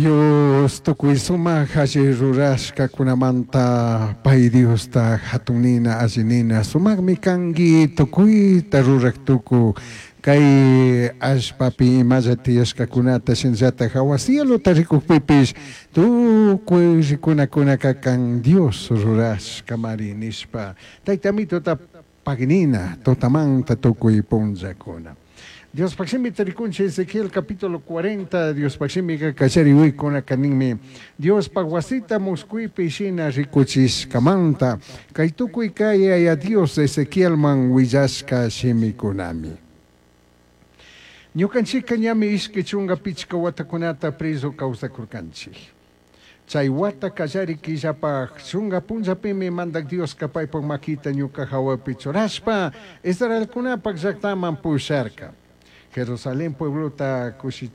Dios tukuy sumak alli rurashkakunamanta pay Diosta hatun nina alli nina sumakmi kanki tukuyta rurak tuku kay allpapi imalla tiyashkakunata shinallatak hawa cielota rikukpipish tukuy rikunakunaka kan Dios rurashkamari nishpa Tayta Amituta pagnina tutamanta tukuy punllakuna. Diospaq shimita rikunchik Ezequiel capítulo 40 Diospaq shimika kallari uykunaka ninmi Diospaq wasita musquypi shina rikuchishkamanta kay tukuy kay Yaya Dios Ezequielman willashka shimikunami. Ñukanchikka ñami 25 watakunata preso kawsakurkanchik. Chay wata kallari killapaq chunga punllapimi mandak Dioska paypak makita ñuka hawapi churashpa Israelkunapak llaktaman pusharka. Jerusalén pueblota kushi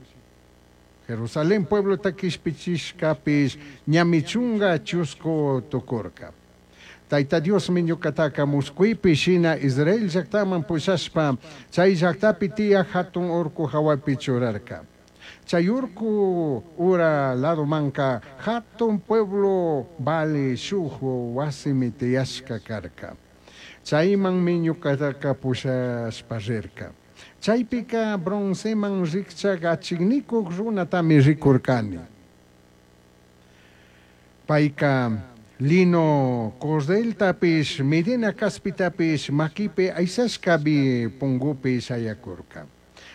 Jerusalén pueblota kishpichishkapish ñami 12 tukurka. Tayta Diosmi ñukataka musquypi shina Israel llaktaman pushashpa chay llaktapi tiyak hatun urku hawapi churarka. Chay urku ura ladomanka hatun pueblo vali shuk wasimi tiyashka karka. Chaymanmi ñukataka pushashpa rirka. Chaypika bronceman rikchak achiknikuk runatami rikurkani. Payka lino cordeltapish medina kaspitapish makipi aysashkapi pungupi shayakurka.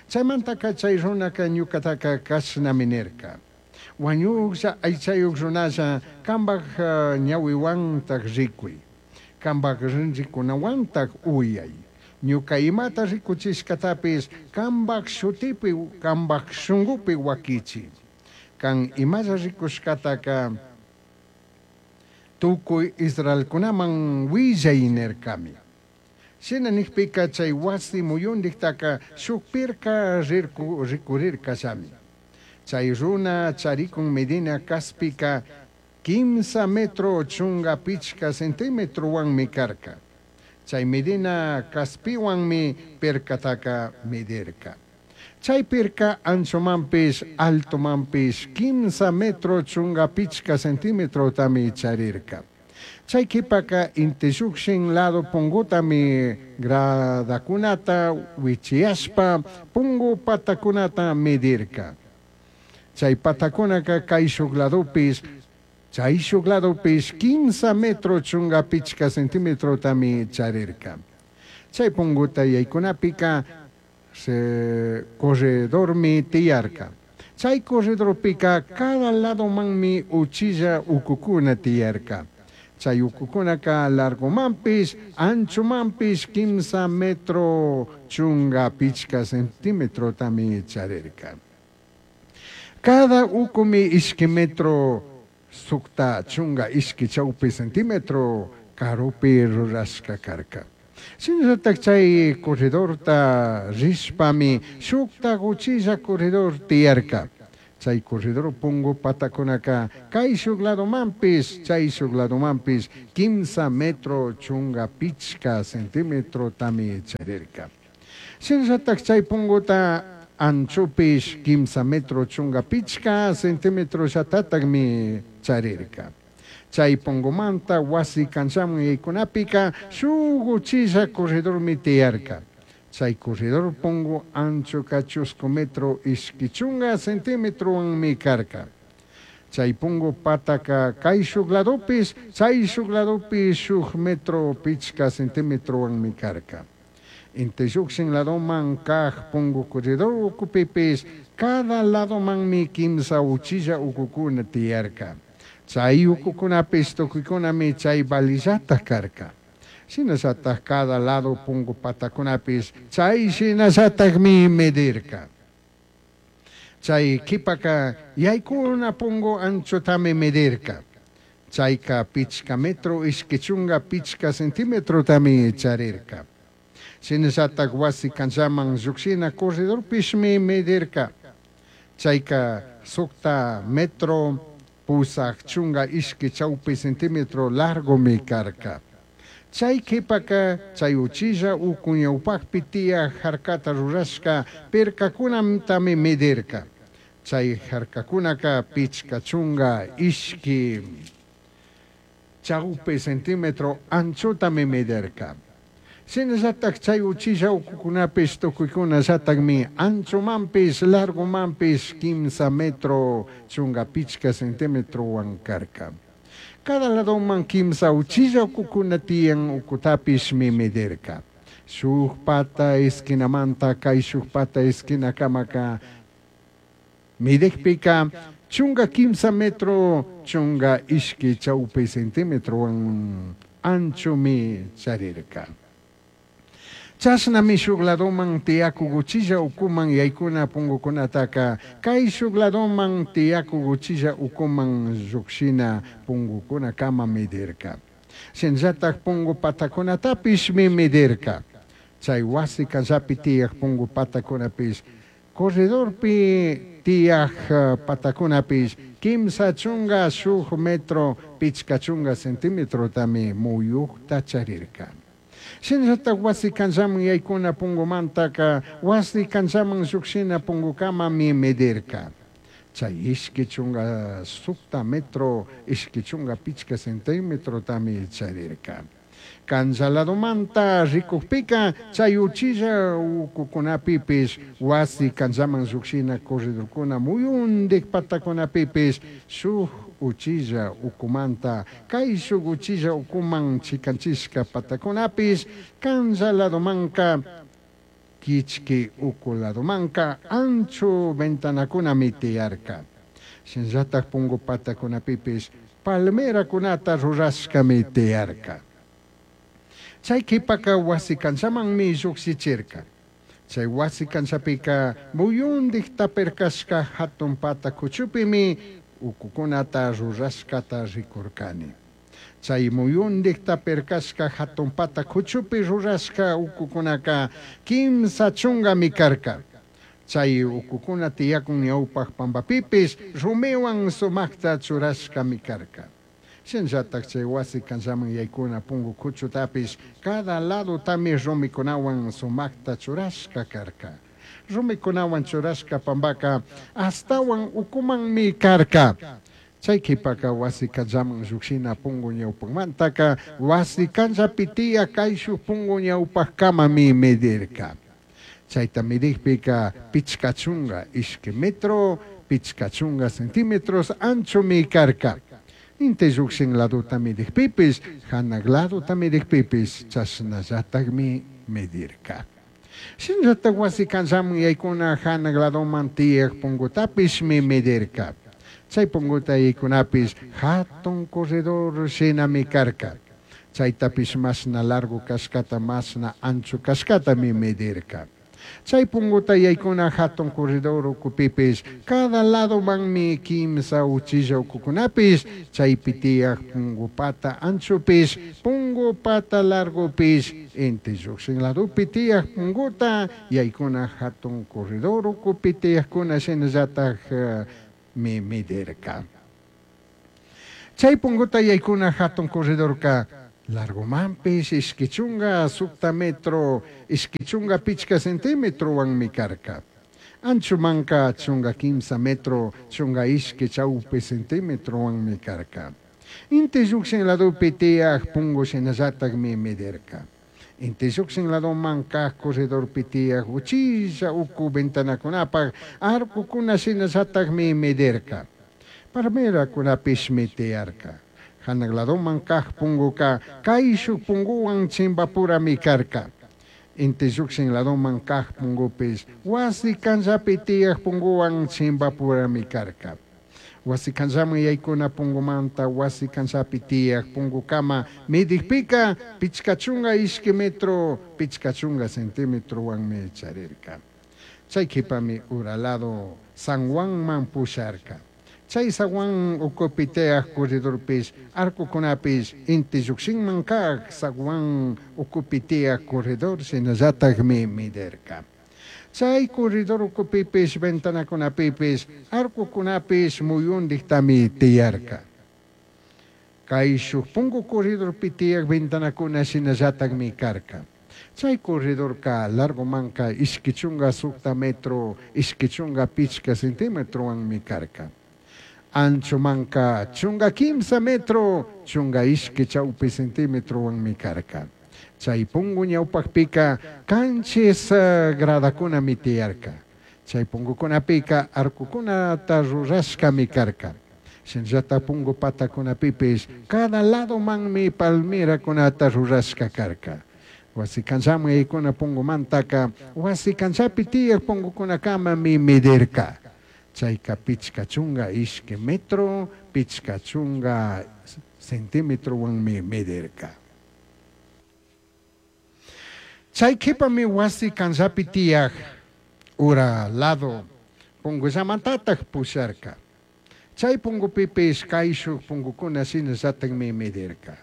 Chaymantaka chay runaka ñukataka kashnami nirka. Wañuklla aychayuk runalla kambak ñawiwantak rikuy. Kambak rinrikunawantak uyay. Ñuka imata rikuchishkatapish kambak shutipi kambak shunkupi wakichi. Kan imalla rikushkataka tukuy Israelkunaman willay nirkami. Shina nikpika chay wasi muyundiktaka shuk pirka rikurirkallami. Chay runa charikun medina kaspika 3 metro 15 centimetrowanmi karka. Chay medina kaspiwanmi pirkataka medirka. Chay pirka anchomanpish altomanpish 3 metro 15 centimetrotami charirka. Chay kipaka inti llukshin lado pungutami gradakunata wichiyashpa pungu patakunata medirka. Chay patakunaka kayshuk ladopish chayshuk ladopish 3 metro 15 centimetrotami charirka. Chay punguta yaykunapika se corredormi tiyarka. Chay corredorpika cada ladomanmi uchilla ukukuna tiyarka. Chay ukukunaka largomanpish anchomanpish 3 metro 15 centimetrotami charirka. Cada ukumi 2 metro 62 chawpi centímetro karupi rurashka karka. Shinallatak chay corredorta rishpami shukta uchilla corredor tiyarka. Chay corredor pungu patakunaka kayshuk ladomanpish chayshuk ladomanpish 3 metro 15 centimetrotami charirka. Shinallatak chay punguta anchopish 3 metro 15 centímetro llatatakmi charirka. Chay pungumanta wasi kanchaman yaykunapika shuk uchilla corredormi tiyarka. Chay corredor pungu anchoka 2 metro 20 centimetrowanmi karka. Chay pungu pataka kayshuk ladopish chayshuk ladopish shuk metro 5 centimetrowanmi karka. Inti llukshin ladoman kaj pungu corredor ukupipis cada ladomanmi 3 uchilla ukukuna tiyarka. Chay ukukunapis tukuykunami chay valillata karka. Shinallatak cada lado pungu patakunapis chay shinallatakmi medirka. Chay kipaka yaykuna pungu anchotami medirka. Chayka 5 metro 25 centimetrotami charirka. Shinallatak wasi kanchaman llukshina corredorpishmi medirka. Chayka 6 metro 82 chawpi centímetro largomi karka. Chay kipaka chay uchilla uku ñawpakpi tiyak harkata rurashka pirkakunatami medirka. Chay jarcacunaca pichca chunga ishqui chaupi centímetro anchotami medirca. Shinallataj chay uchilla ucucunapish tucuicunallatajmi anchomanpish largomanpish 3 metro chunga pichca centimetrohuan carca. Cada ladoman 3 uchilla ucucuna tiyan ucutapishmi medirca. Shuj pata esquinamanta caishuj pata esquinacamaca midijpica 13 metro 12 chaupi centimetrohuan anchomi charirca. Chashnami shuj ladoman tiyacuj uchilla ucuman yaicuna pungucunataca caishuj ladoman tiyacuj uchilla ucuman llujshina pungucunacama medirca. Shinallataj pungu patacunatapishmi medirca. Chay wasi canllapi tiyaj pungu patacunapish, corredorpi tiyaj patacunapish 31 metro 50 centimetrotami muyujta charirca. Shinallataj wasi canllaman yaicuna pungumantaca wasi canllaman llujshina pungucamami medirca. Chay 26 metro 25 centimetrotami charirca. Canlla ladomanta ricujpica chay uchilla ucucunapipish wasi canllaman llujshina corredorcuna muyundij patacunapipish shuj uchilla ucumanta caishuj uchilla ucuman chicanchishca patacunapish canlla ladomanca quichqui ucu ladomanca ancho ventanacunami tiyarca. Shinallataj pungu patacunapipish palmeracunata rurashcami tiyarca. Chay quipaca wasi canllamanmi llujshichirca. Chay wasi canllapica muyundij tapircashca jatun pata cuchupimi ucucunata rurashcata ricurcani. Chay muyundij tapircashca jatun pata cuchupi rurashca ucucunaca 30 carca. Chay ucucuna tiyacun ñaupaj pambapipish rumihuan sumajta churashcami carca. Shinallataj chay wasi canllaman yaicuna pungu cuchutapish cada ladotami rumicunahuan sumajta churashca carca. Rumicunahuan churashca pambaca ashtahuan ucumanmi carca. Chay quipaca wasi canllaman llujshina pungu ñaupajmantaca wasi canllapi tiyaj caishuj pungu ñaupajcamami medirca. Chayta midijpica 52 metro 50 centímetros anchomi carca. Inti llujshin ladota midijpipish, janaj ladota midijpipish chashnallatajmi medirca. Shinallataj wasi canllaman yaicuna janaj ladoman tiyaj pungutapishmi medirca. Chay punguta yaicunapish jatun corredor shinami carca. Chaytapish mashna largo cashcata mashna ancho cashcatami medirca. Chay punguta yaicuna jatun corredor ucupipish cada ladomanmi 3 uchilla ucucunapish chaypi tiyaj pungu pata anchopish pungu pata largopish inti llujshin ladopi tiyaj punguta yaicuna jatun corredor ucupi tiyajcuna shinallataj mi medirca. Chay punguta yaicuna jatun corredorca largomanpish 26 metro 25 centimetrowanmi carca. Anchomanca 13 metro 12 chaupi centimetrowanmi carca. Inti llujshin ladopi tiyaj pungu shinallatajmi medirca. Inti llujshin ladoman kaj corredorpi tiyaj uchilla ucu ventanacunapaj arcocuna shinallatajmi medirca. Palmeracunapishmi tiyarca. Janaj ladoman kaj punguca caishuj punguhuan chimbapurami carca. Inti llujshin ladoman kaj pungupish wasi canllapi tiyaj punguhuan chimbapurami carca. Wasi canllaman yaicuna pungumanta wasi canllapi tiyaj pungucama midijpica 52 metro 50 centimetrowanmi charirca. Chay quipami ura lado San Juanman pusharca. Chay zaguán ucupi tiyaj corredorpish arcocunapish inti llujshinman kaj zaguán ucupi tiyaj corredor shinallatajmi medirca. Chay corredor ucupipish ventanacunapipish arcocunapish muyundijtami tiyarca. Caishuj pungu corredorpi tiyaj ventanacuna shinallatajmi carca. Chai corredorca largomanca ishqui chunga sujta metro, ishqui chunga pichca centimetrohuanmi carca. Anchomanca chunga quimsa metro, chunga ishqui chaupi centimetrohuanmi carca. Chai pungu ñaupajpica canchis gradacunami tiyarca. Chai pungucunapica arcocunata rurashcami carca. Shinallata pungu patacunapipish cada ladomanmi palmeracunata rurashca carca. Huasi canchaman yaicuna pungumantaca huasi canchapi tiyaj pungucunacamami medirca. Chaica pichca chunga ishqui metro, pichca chunga centimetrohuanmi medirca. Chai q'uipami huasi canllapi tiyaj ura lado pungullamantataj pusharca. Chai pungupipish caishuj pungucuna shinallatajmi medirca.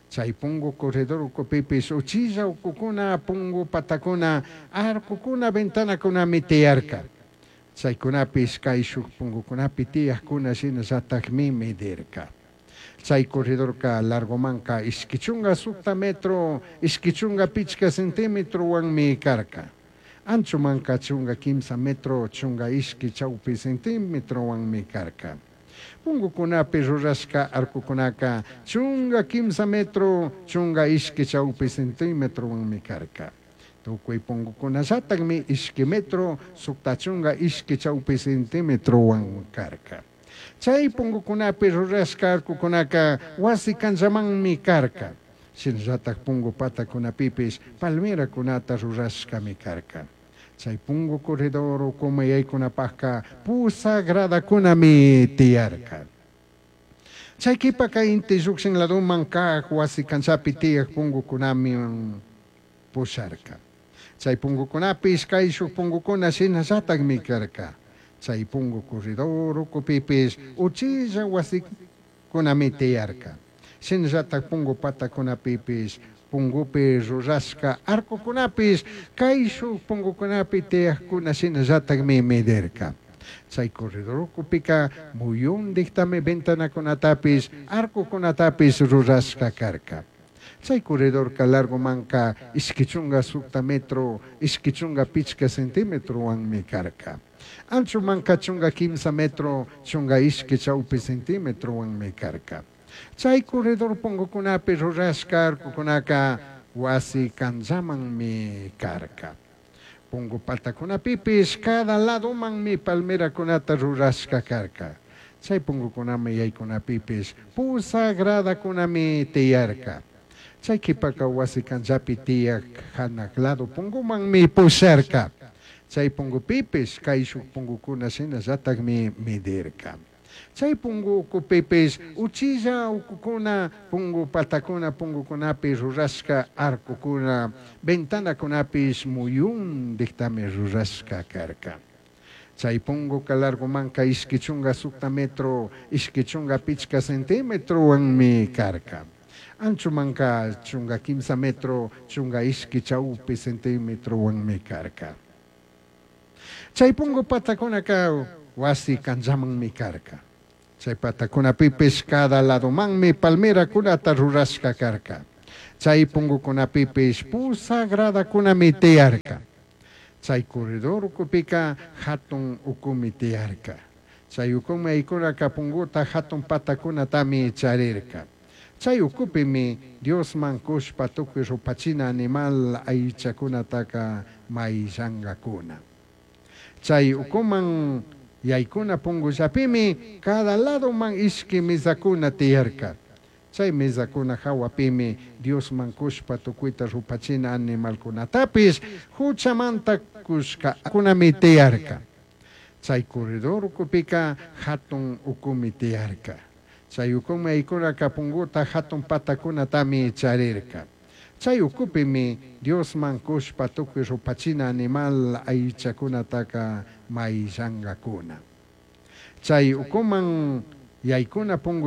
Chai pungu corredor ucupipish uchilla ucucuna, pungu patacuna, arcocuna, ventanacunami tiyarca. Chaicunapish caishuj pungucunapi tiyajcuna shinallatajmi medirca. Chai corredorca largomanca ishqui chunga sujta metro, ishqui chunga pichca centimetrohuanmi carca. Anchomanca chunga quimsa metro, chunga ishqui chaupi centimetrohuanmi carca. Pungucunapi rurashca arcocunaca chunga quimsa metro, chunga ishqui chaupi centimetrohuanmi carca. Tucui pungucunallatajmi ishqui metro, sujta chunga ishqui chaupi centimetrohuan carca. Chai pungucunapi rurashca arcocunaca huasi canllamanmi carca. Shinallataj pungu patacunapipish palmeracunata rurashcami carca. Chai pungu corredor ucuman yaicunapajca pusaj gradacunami tiyarca. Chai q'uipaca inti llujshin ladoman caj huasi canllapi tiyaj pungucunami pusharca. Chai pungucunapish caishuj pungucuna shinallatajmi carca. Chai pungu corredor ucupipish uchilla huasicunami tiyarca. Shinallataj pungu patacunapipish pungupi rurashca arcocunapish caishuj pungucunapi tiyajcuna shinallatajmi medirca. Chai corredor ucupica muyundijtami ventanacunatapish arcocunatapish rurashca carca. Chai corredorca largomanca ishqui chunga sujta metro, ishqui chunga pichca centimetrohuanmi carca. Anchomanca chunga quimsa metro, chunga ishqui chaupi centimetrohuanmi carca. Chai corredor pungucunapi rurashca arcocunaca huasi canllamanmi carca. Pungu patacunapipish cada ladomanmi palmeracunata rurashca carca. Chai pungucunaman yaicunapipish pusaj gradacunami tiyarca. Chai q'uipaca huasi canllapi tiyaj janaj lado pungumanmi pusharca. Chai pungupipish caishuj pungucuna shinallatajmi medirca. Chai pungu ucupipish uchilla ucucuna, pungu patacuna, pungucunapi rurashca arcocuna, ventanacunapish muyundijtami rurashca carca. Chai punguca largomanca ishqui chunga sujta metro, ishqui chunga pichca centimetrohuanmi carca. Anchomanca chunga quimsa metro, chunga ishqui chaupi centimetrohuanmi carca. Chai pungu patacunaca huasi canllamanmi carca. Chai patacunapipish cada ladomanmi palmeracunata rurashca carca. Chai pungucunapipish pusaj gradacunami tiyarca. Chai corredor ucupica jatun ucumi tiyarca. Chai ucuman yaicunaca punguta jatun patacunatami charirca. Chai ucupimi Diosman cushpa tucui rupachina animal aichacunataca maillangacuna. Chai ucuman yaicuna pungullapimi cada ladoman ishqui mesacuna tiyarca. Chai mesacuna jahuapimi Diosman cushpa tucuita rupachina animalcunatapish juchamanta cushcacunami tiyarca. Chai corredor ucupica jatun ucumi tiyarca. Chai ucuman yaicunaca punguta jatun patacunatami charirca. Chai ucupimi Diosman cushpa tucui rupachina animal aichacunataca maillangacuna. Chai ucuman yaicuna pungu.